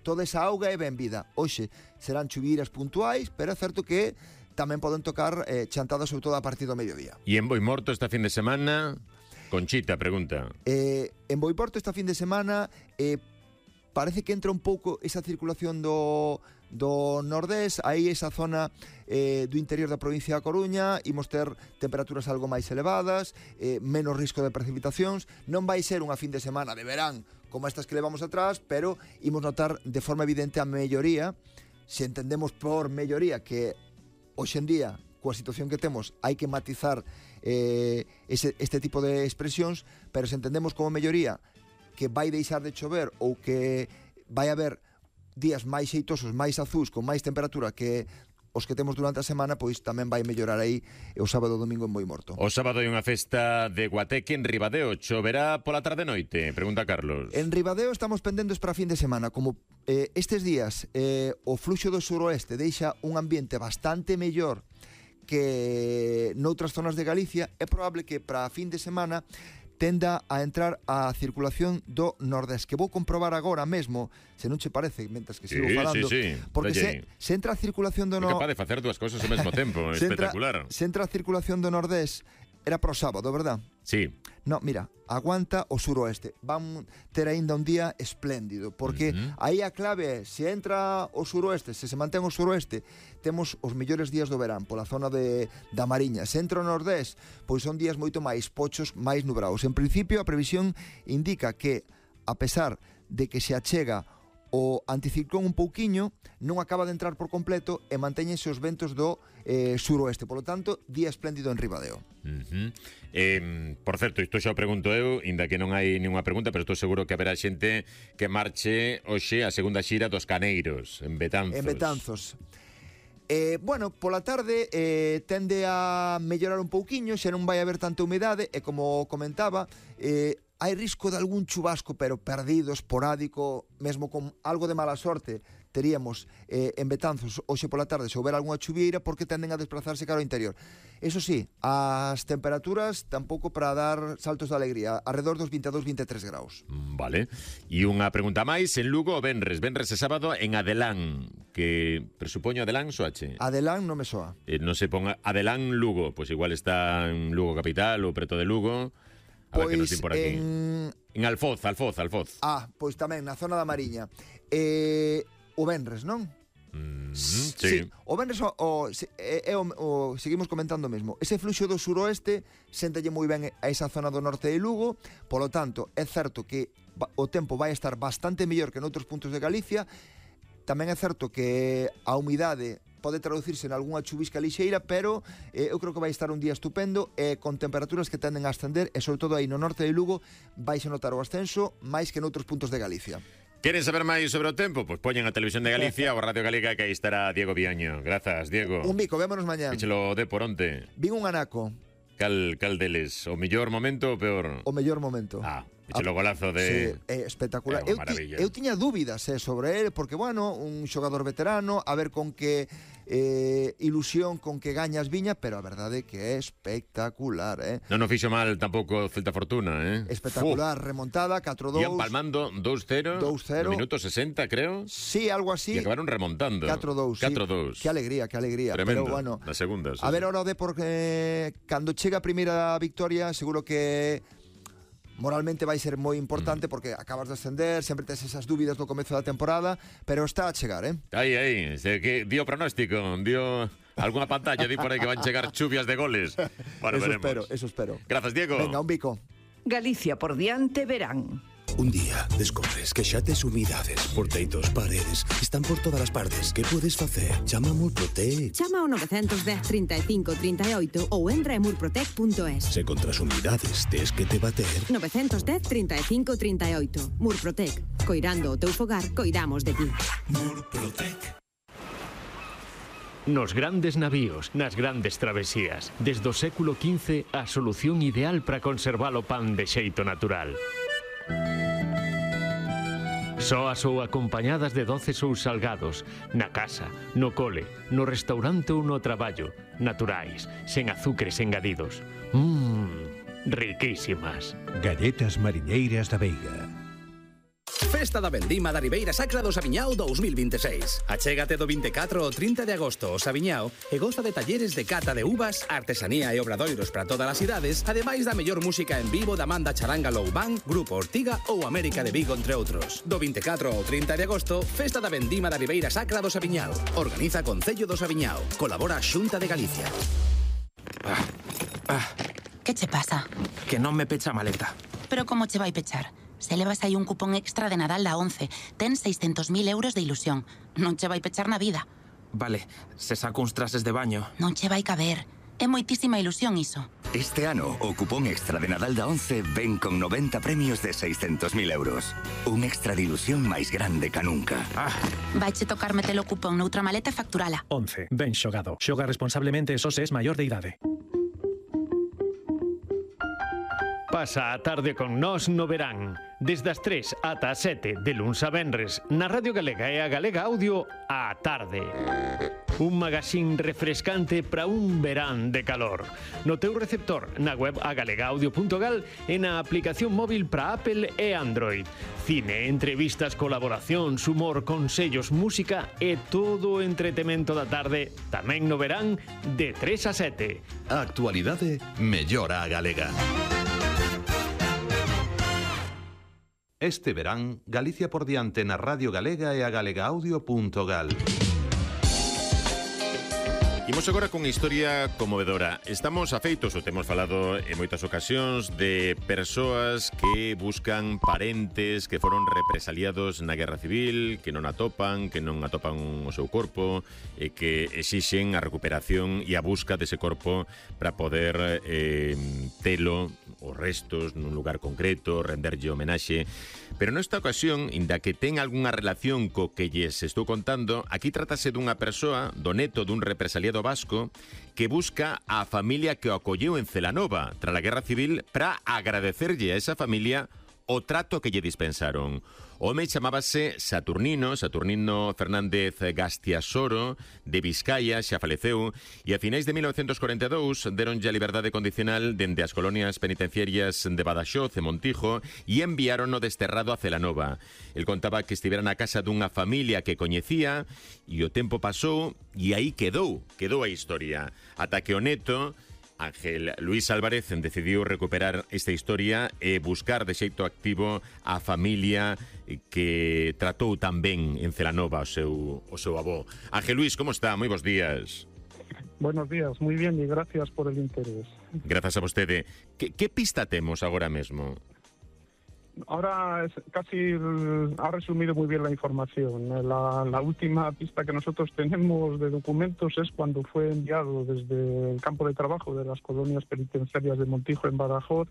toda esa auga é benvida. Hoxe serán chuviras puntuais, pero é certo que tamén poden tocar chantadas sobre todo a partir do mediodía. E en Boimorto esta fin de semana, Conchita pregunta. En Boimorto esta fin de semana parece que entra un pouco esa circulación do nordés, aí esa zona do interior da provincia da Coruña, imos ter temperaturas algo máis elevadas, menos risco de precipitacións, non vai ser unha fin de semana de verán como estas que levamos atrás, pero imos notar de forma evidente a melloría, se entendemos por melloría que hoxe en día, coa situación que temos, hai que matizar este tipo de expresións, pero se entendemos como melloría que vai deixar de chover ou que vai haber días máis xeitosos, máis azús, con máis temperatura que os que temos durante a semana, pois tamén vai mellorar aí o sábado e domingo en Boimorto. O sábado hai unha festa de Guateque en Ribadeo. Choverá pola tarde noite? Pregunta Carlos. En Ribadeo estamos pendentes para a fin de semana. Como estes días o fluxo do suroeste deixa un ambiente bastante mellor que noutras zonas de Galicia, é probable que para a fin de semana tenda a entrar a circulación do nordés, que vou comprobar agora mesmo, se non che parece, mentres que sigo falando, porque se entra a circulación do nordés... É capaz de facer dúas cousas ao mesmo tempo, espectacular. Se entra a circulación do nordés, era para o sábado, verdad? Sí. No, mira, aguanta o suroeste. Van ter aínda un día espléndido, porque aí a clave é, se entra o suroeste, se mantén o suroeste, temos os mellores días do verán, pola zona da Mariña. Se entra o nordés, pois son días moito máis pochos, máis nubrados. En principio, a previsión indica que, a pesar de que se achega o anticiclón un pouquiño, non acaba de entrar por completo e mantéñense os ventos do suroeste. Por lo tanto, día espléndido en Ribadeo. Por certo, isto xa o pregunto eu, inda que non hai ninguna pregunta, pero estou seguro que haberá xente que marche hoxe a segunda xira dos Caneiros, en Betanzos. En Betanzos. Bueno, pola tarde tende a mellorar un pouquiño, xa non vai haber tanta humedade, e como comentaba, hai risco de algún chubasco, pero perdido, esporádico, mesmo con algo de mala sorte, teríamos en Betanzos hoxe pola tarde se houber algunha chuvieira, porque tenden a desplazarse cara ao interior. Eso sí, as temperaturas tampouco para dar saltos de alegría, alrededor dos 22-23 graus. Vale. E unha pregunta máis, en Lugo o Venres e sábado en Adelán, que presupoño Adelán soache. Adelán non me soa. Non se ponga Adelán Lugo, pois igual está en Lugo capital ou preto de Lugo. A ver que nos din por aquí. En Alfoz. Pois tamén, na zona da Mariña. O Venres, non? Sí. O Venres seguimos comentando mesmo. Ese fluxo do suroeste séntalle moi ben a esa zona do norte de Lugo, polo tanto, é certo que o tempo vai estar bastante mellor que noutros puntos de Galicia. Tamén é certo que a humidade pode traducirse en algunha chuvisca lixeira, pero eu creo que vai estar un día estupendo con temperaturas que tenden a ascender, e sobre todo aí no norte de Lugo vais a notar o ascenso máis que noutros puntos de Galicia. Queren saber máis sobre o tempo? Pois poñen a Televisión de Galicia ou a Radio Galega, que aí estará Diego Viaño. Grazas, Diego. Un bico, vémonos mañá. Échelo de por onte. Vin un anaco. Cal deles? O mellor momento ou peor? O mellor momento. Échelo golazo de... Sí, espectacular. Eu tiña dúbidas sobre ele, porque, bueno, un xogador veterano, a ver con que ilusión, con que gañas viña, pero a verdade é que é espectacular, Non o fixo mal tampouco Celta Fortuna, Espectacular, remontada, 4-2. Ian palmando 2-0, no minuto 60, creo. Sí, algo así. E acabaron remontando. 4-2. Sí. Que alegría. Tremendo, pero, bueno, na segunda. A ver, ahora o Depor, cando chega a primeira victoria, seguro que moralmente vai ser moi importante, porque acabas de ascender, sempre tes esas dúbidas do comezo da temporada, pero está a chegar, Aí, que dio pronóstico, dio algunha pantalla, di por aí que van chegar chuvias de goles. Bueno, eso espero. Grazas, Diego. Venga, un bico. Galicia por diante verán. Un día descobres que xa tes humidades, porteitos, paredes, están por todas as partes. Que podes facer? Chama a Murprotec. Chama ao 910 35 38 ou entra en murprotec.es. Se contra as humidades tes que te bater. 910 35 38. Murprotec. Coirando o teu fogar, coidamos de ti. Murprotec. Nos grandes navíos, nas grandes travesías, desde o século XV, a solución ideal para conservar o pan de xeito natural. Soas ou acompañadas de doces ou salgados, na casa, no cole, no restaurante ou no traballo, naturais, sen azúcares engadidos. Riquísimas. Galletas mariñeiras da Veiga. Festa da Vendima da Ribeira Sacra do Saviñao 2026. Achégate do 24 ao 30 de agosto ao Saviñao e goza de talleres de cata de uvas, artesanía e obradoiros para todas as idades, ademais da mellor música en vivo da Manda Charanga Low Band, Grupo Ortiga ou América de Vigo, entre outros. Do 24 ao 30 de agosto, Festa da Vendima da Ribeira Sacra do Saviñao. Organiza Concello do Saviñao. Colabora a Xunta de Galicia. Que che pasa? Que non me pecha a maleta. Pero como che vai pechar? Se levas aí un cupón extra de Nadal da 11, ten 600.000 euros de ilusión. Non che vai pechar na vida. Vale, se saco uns trases de baño. Non che vai caber. É moitísima ilusión iso. Este ano, o cupón extra de Nadal da 11 ven con 90 premios de 600.000 euros. Un extra de ilusión máis grande ca nunca. Vaiche tocar metelo cupón noutra maleta e facturala. 11. Ben xogado. Xoga responsablemente só se es maior de idade. Pasa a tarde con nós no verán. Desde as 3 ata as 7 de luns a venres na Radio Galega e a Galega Audio á tarde. Un magazín refrescante para un verán de calor. No teu receptor, na web agalegaudio.gal e na aplicación móvil para Apple e Android. Cine, entrevistas, colaboracións, humor, consellos, música e todo o entretemento da tarde tamén no verán de 3 a 7. A actualidade mellora a galega. Este verán, Galicia por diante na Radio Galega e a galegaudio.gal. Imos agora con historia conmovedora. Estamos afeitos, o temos falado en moitas ocasións, de persoas que buscan parentes que foron represaliados na Guerra Civil, que non atopan o seu corpo, e que exixen a recuperación e a busca dese corpo para poder telo, os restos, nun lugar concreto, renderlle homenaxe. Pero nesta ocasión, inda que ten algunha relación co que lles estou contando, aquí trátase dunha persoa, do neto dun represaliado vasco, que busca a familia que o acolleu en Celanova tras a Guerra Civil para agradecerlle a esa familia o trato que lle dispensaron. O home chamábase Saturnino Fernández Gastiasoro, de Vizcaya, xa faleceu, e a finais de 1942 deronlle a liberdade condicional dende as colonias penitenciarias de Badaxoz e Montijo e enviárono desterrado a Celanova. El contaba que estivera na casa dunha familia que coñecía e o tempo pasou e aí quedou a historia. Ata que o neto, Ángel Luis Álvarez, decidiu recuperar esta historia e buscar de xeito activo a familia que tratou tan ben en Celanova o seu avó. Ángel Luis, como está? Moi bons días. Buenos días, muy bien y gracias por el interés. Grazas a vostede. Que pista temos agora mesmo? Ahora casi ha resumido muy bien la información. La última pista que nosotros tenemos de documentos es cuando fue enviado desde el campo de trabajo de las colonias penitenciarias de Montijo en Badajoz,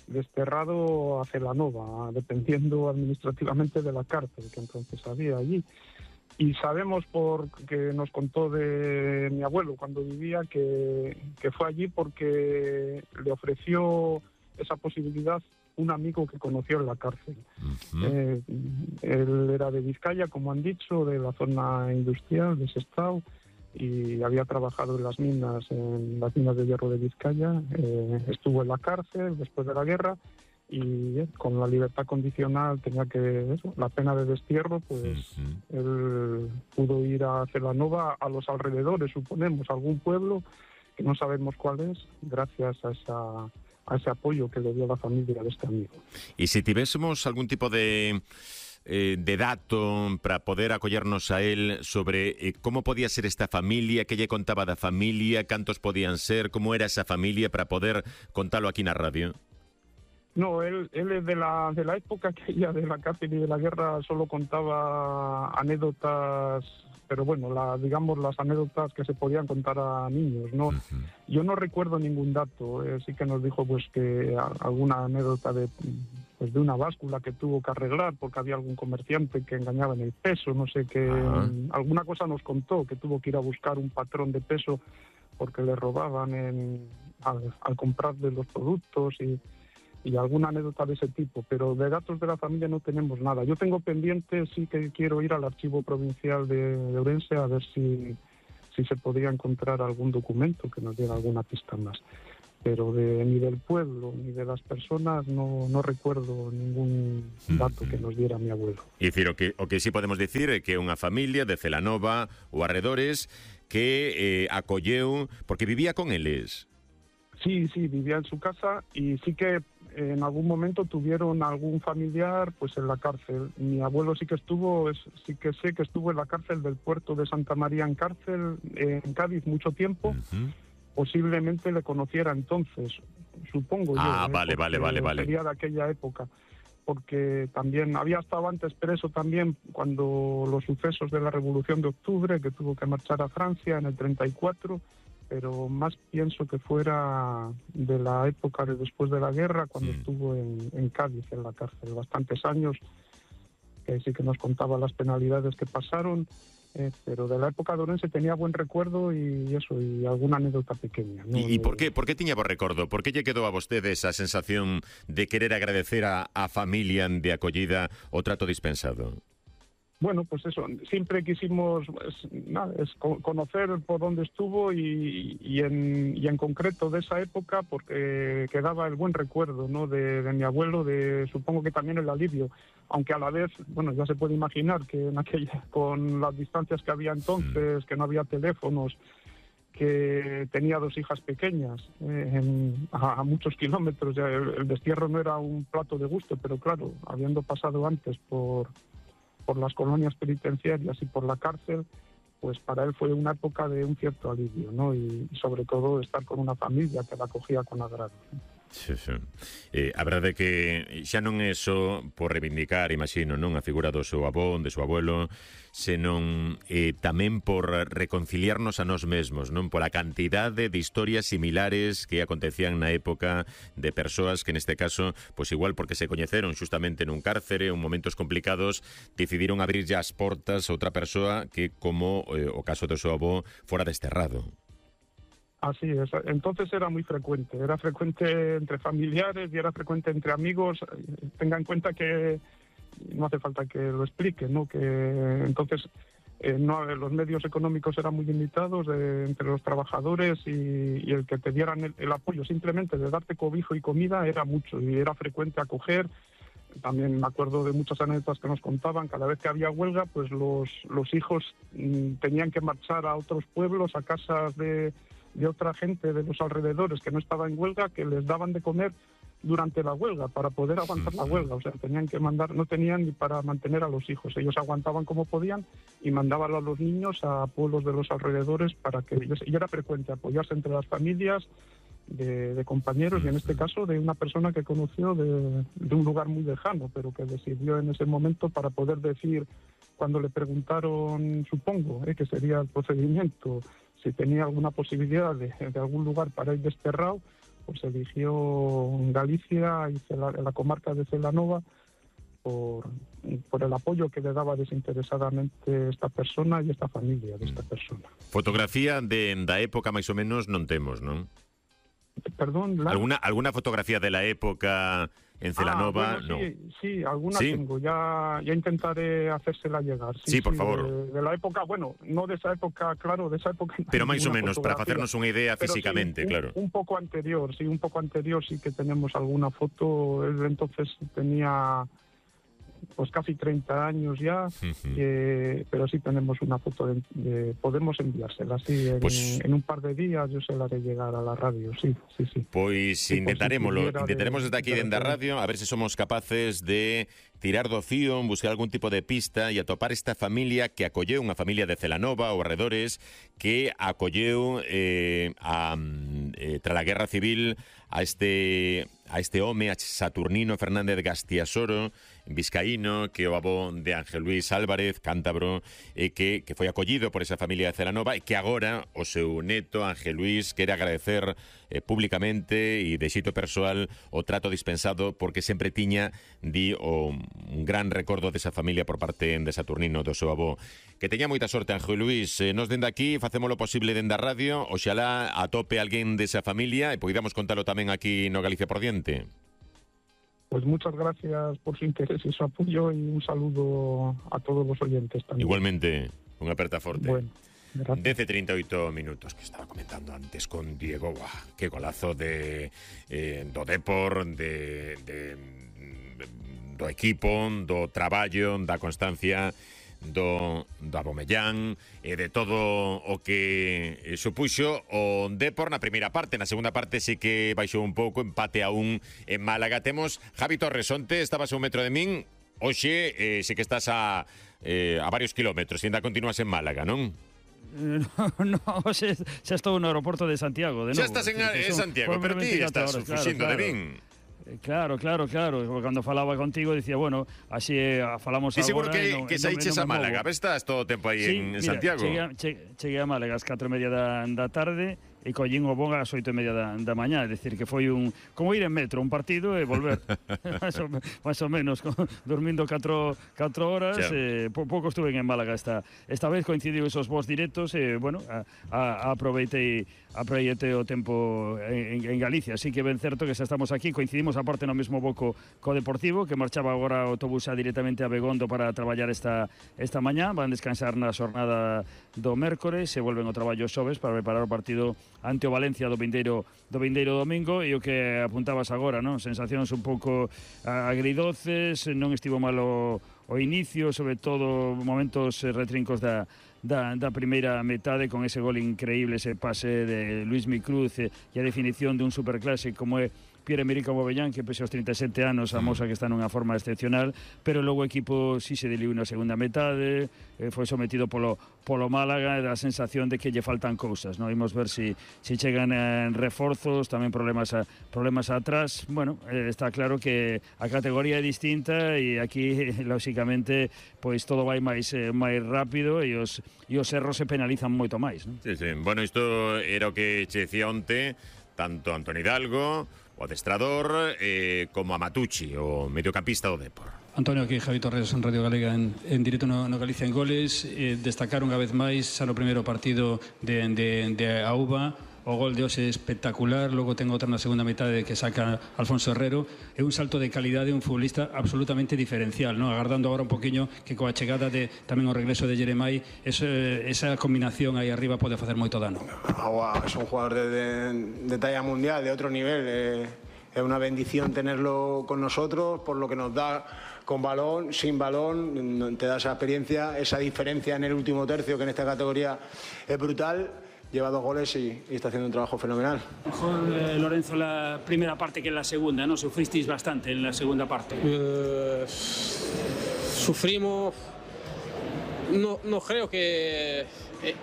desterrado a Celanova, dependiendo administrativamente de la cárcel que entonces había allí. Y sabemos, porque nos contó de mi abuelo cuando vivía, que fue allí porque le ofreció esa posibilidad un amigo que conoció en la cárcel. Él era de Vizcaya, como han dicho, de la zona industrial de Sestao, y había trabajado en las minas de hierro de Vizcaya. Estuvo en la cárcel después de la guerra y con la libertad condicional tenía la pena de destierro, pues él pudo ir a Celanova, a los alrededores, suponemos, algún pueblo que no sabemos cuál es, gracias a ese apoyo que le dio la familia de este amigo. E se tivésemos algún tipo de dato para poder acollernos a él sobre como podía ser esta familia, que lle contaba da familia, cantos podían ser, como era esa familia, para poder contalo aquí na radio. No, él es de la época que ella de la cárcel y de la guerra solo contaba anécdotas, pero bueno, digamos las anécdotas que se podían contar a niños, ¿no? Yo no recuerdo ningún dato, sí que nos dijo pues que alguna anécdota de una báscula que tuvo que arreglar porque había algún comerciante que engañaba en el peso, no sé qué, alguna cosa nos contó, que tuvo que ir a buscar un patrón de peso porque le robaban al comprarle los productos y alguna anécdota de ese tipo, pero de datos de la familia no tenemos nada. Yo tengo pendiente, sí que quiero ir al Archivo Provincial de Ourense a ver si se podría encontrar algún documento que nos diera alguna pista más. pero ni del pueblo ni de las personas no recuerdo ningún dato que nos diera mi abuelo. É dicir, o que sí podemos dicir é que é unha familia de Celanova ou arredores que acolleu, porque vivía con eles. Sí, vivía en su casa y sí que en algún momento tuvieron algún familiar pues en la cárcel. Mi abuelo sí que sé que estuvo en la cárcel del puerto de Santa María en Cádiz mucho tiempo. Posiblemente le conociera entonces, supongo yo. Vale. Sería de aquella época, porque también había estado antes preso también cuando los sucesos de la Revolución de Octubre, que tuvo que marchar a Francia en el 34, pero más pienso que fuera de la época de después de la guerra, cuando estuvo en Cádiz, en la cárcel, bastantes años, que sí que nos contaba las penalidades que pasaron. Pero de la época de Ourense tenía buen recuerdo y alguna anécdota pequeña, ¿no? E por qué tiña bo recordo? Por que lle quedou a vostede esa sensación de querer agradecer a familia de acollida o trato dispensado? Bueno, pues eso, siempre quisimos conocer por dónde estuvo y en concreto de esa época, porque quedaba el buen recuerdo, ¿no?, de mi abuelo, supongo que también el alivio, aunque a la vez, bueno, ya se puede imaginar que con las distancias que había entonces, que no había teléfonos, que tenía 2 hijas pequeñas a muchos kilómetros, ya el destierro no era un plato de gusto, pero claro, habiendo pasado antes por las colonias penitenciarias y por la cárcel, pues para él fue una época de un cierto alivio, ¿no? Y sobre todo estar con una familia que la acogía con agrado, ¿no? Sí. A verdade é que xa non é só por reivindicar, imagino, non a figura do seu avó, do seu abuelo, senón tamén por reconciliarnos a nós mesmos, non, pola cantidade de historias similares que acontecían na época de persoas que neste caso, pois igual porque se coñeceron xustamente nun cárcere en momentos complicados, decidiron abrirlle as portas a outra persoa que, como o caso do seu avó, fora desterrado. Así es, entonces era frecuente entre familiares y era frecuente entre amigos. Tenga en cuenta que no hace falta que lo explique, ¿no?, que entonces los medios económicos eran muy limitados entre los trabajadores y el que te dieran el apoyo simplemente de darte cobijo y comida era mucho y era frecuente acoger. También me acuerdo de muchas anécdotas que nos contaban, cada vez que había huelga, pues los hijos tenían que marchar a otros pueblos, a casas de otra gente de los alrededores que no estaba en huelga, que les daban de comer durante la huelga para poder aguantar la huelga. O sea, no tenían ni para mantener a los hijos. Ellos aguantaban como podían y mandaban a los niños a pueblos de los alrededores para que ellos... Y era frecuente apoyarse entre las familias de compañeros y en este caso de una persona que conoció de un lugar muy lejano, pero que le sirvió en ese momento para poder decir, cuando le preguntaron, supongo, que sería el procedimiento, si tenía alguna posibilidad de algún lugar para ir desterrado, pues eligió Galicia y la comarca de Celanova por el apoyo que le daba desinteresadamente esta persona y esta familia de esta persona. Fotografía da época máis ou menos non temos, non? Perdón, ¿Alguna fotografía de la época en Celanova? Bueno, no. Sí, alguna tengo. Ya intentaré hacérsela llegar. Sí, por favor. De la época, bueno, no de esa época, claro, de esa época. Pero más o menos, para hacernos una idea físicamente, sí, claro. Un poco anterior sí que tenemos alguna foto. Él entonces tenía pues casi 30 años ya, pero sí tenemos una foto podemos enviársela, sí, en un par de días yo se la haré llegar a la radio, sí. Pois sí, intentaremos desde aquí dende a radio, a ver se somos capaces de tirar do fío, buscar algún tipo de pista e atopar esta familia que acolleu, unha familia de Celanova ou arredores, que acolleu tras a Guerra Civil a este home, a Saturnino Fernández Gastiasoro, vizcaíno, que é o avó de Ángel Luis Álvarez, cántabro, que foi acollido por esa familia de Celanova e que agora o seu neto, Ángel Luis, quere agradecer públicamente e de xeito persoal o trato dispensado porque sempre tiña un gran recordo desa familia por parte de Saturnino, do seu avó. Que teña moita sorte, Ángel Luis. Nos dende aquí facemos lo posible dende a radio, oxalá atope alguén desa familia e poidamos contalo tamén aquí no Galicia por diante. Pues muchas gracias por su interés y su apoyo y un saludo a todos los oyentes también. Igualmente, unha aperta forte. Bueno, 10:38 minutos, que estaba comentando antes con Diego. Qué golazo do Depor, do equipo, do traballo, da constancia do Abomellán e de todo o que supuxo o Depor na primeira parte. Na segunda parte sí que baixou un pouco, empate a 1 en Málaga. Temos Javi Torres, onte estabas a 1 metro de min, hoxe sí que estás a varios kilómetros, e ainda continúas en Málaga, non? No, xa estou no aeroporto de Santiago de novo. Xa estás en Santiago, pero ti estás fuxindo de min. Claro. Cando falaba contigo dicía, bueno, así falamos agora. E seguro que saíches a Málaga. Estás todo o tempo aí en Santiago? Cheguei a Málaga ás 4:30 da tarde e collín o voo ás 8:30 da mañá, é dicir, que foi como ir en metro, un partido e volver. máis ou menos, dormindo 4 horas. Pouco estuve en Málaga esta vez, coincidiu esos voos directos e, bueno, aproveitei o tempo en Galicia. Así que ben certo que xa estamos aquí, coincidimos aparte no mesmo voo co Deportivo, que marchaba agora o autobús directamente a Begondo para traballar esta mañá. Van descansar na xornada do mércores e volven ao traballo xoves para preparar o partido ante o Valencia do vindeiro domingo. E o que apuntabas agora, non? Sensacións un pouco agridoces, non estivo mal o inicio, sobre todo momentos retrincos da primeira metade, con ese gol increíble, ese pase de Luismi Cruz e a definición dun superclásico como é Pierre-Emerick Aubameyang, que pese aos 37 anos amosa que está nunha forma excepcional, pero logo o equipo si se deliu na segunda metade, foi sometido polo Málaga, e da sensación de que lle faltan cousas, non? Imos ver si chegan reforzos, tamén problemas atrás. Bueno, está claro que a categoría é distinta e aquí, lóxicamente, pois todo vai máis rápido e os erros se penalizan moito máis, non? Sí. Bueno, isto era o que che decía onte tanto Antoni Hidalgo, o adestrador, como a Matucci, o mediocampista do Depor. Antonio, aquí Javi Torres en Radio Galega en directo no Galicia en Goles. Destacar unha vez máis xa no primeiro partido de Auba. O gol de hoxe é espectacular, logo ten outra na segunda metade que saca Alfonso Herrero. É un salto de calidade, un futbolista absolutamente diferencial, ¿no? Agardando agora un poquinho que coa chegada de tamén o regreso de Jeremai, esa combinación aí arriba pode facer moito dano. Es un jugador de talla mundial, de otro nivel. Es una bendición tenerlo con nosotros por lo que nos da con balón, sin balón, te da esa experiencia, esa diferencia en el último tercio que en esta categoría es brutal. Lleva 2 goles y está haciendo un trabajo fenomenal. Mejor, Lorenzo, la primera parte que en la segunda, ¿no? Sufristeis bastante en la segunda parte. Sufrimos. No creo que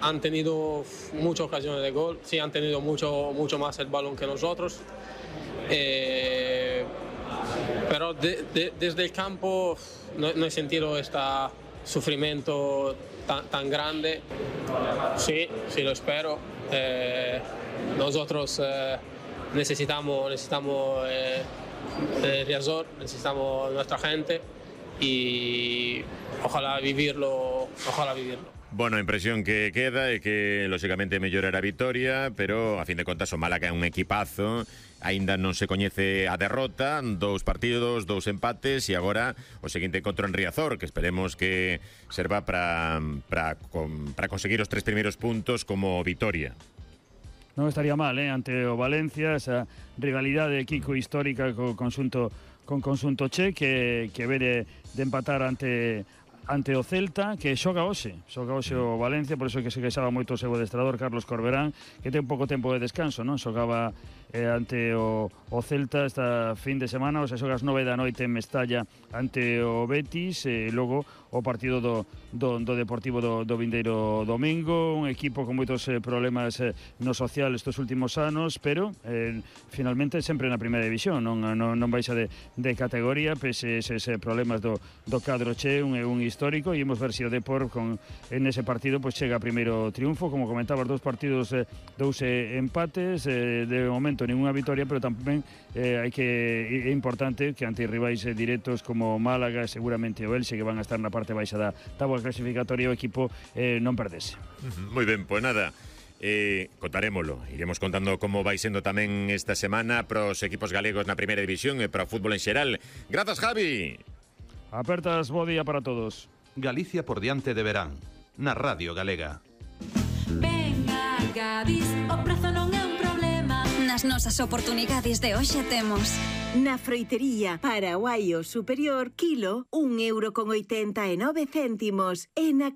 han tenido muchas ocasiones de gol. Sí, han tenido mucho más el balón que nosotros. Pero desde el campo no he sentido este sufrimiento tan grande. Sí, lo espero. Nosotros necesitamos Riazor, necesitamos nuestra gente y ojalá vivirlo. Bueno, a impresión que queda é que, lóxicamente, mellorará a vitoria, pero, a fin de contas, o Málaga é un equipazo, aínda non se coñece a derrota, 2 partidos, 2 empates, e agora o seguinte encontro en Riazor, que esperemos que serva para conseguir os 3 primeiros puntos como vitoria. Non estaría mal, ante o Valencia, esa rivalidade Kiko histórica con conxunto che, que vere de empatar ante o Celta, que xoga hoxe o Valencia, por iso que se queixaba moito o seu adestrador Carlos Corberán, que ten pouco tempo de descanso, non? Xogaba ante o Celta esta fin de semana, o sea, xoga ás 9 da noite en Mestalla ante o Betis, e logo o partido do Deportivo do vindeiro domingo, un equipo con moitos problemas no social estes últimos anos, pero finalmente sempre na primeira división, non baixa de categoría, pese eses problemas do cadro che, un histórico, e imos ver se o Depor en ese partido pois chega a primeiro triunfo. Como comentabas, 2 partidos, 2 empates, de momento ninguna vitoria, pero tamén é importante que ante rivais directos como Málaga, seguramente o Elxe, que van a estar na parte baixa da táboa clasificatoria, o equipo non perdese. Moi ben, pois nada, contarémolo, iremos contando como vai sendo tamén esta semana para os equipos galegos na primeira división e para o fútbol en xeral. Grazas, Javi. Apertas, bo día para todos. Galicia por diante de verán, na Radio Galega. Gadis, o prezo non é un problema. Nas nosas oportunidades de hoxe temos na froitería Paraguaio superior, kilo, €1,89 e na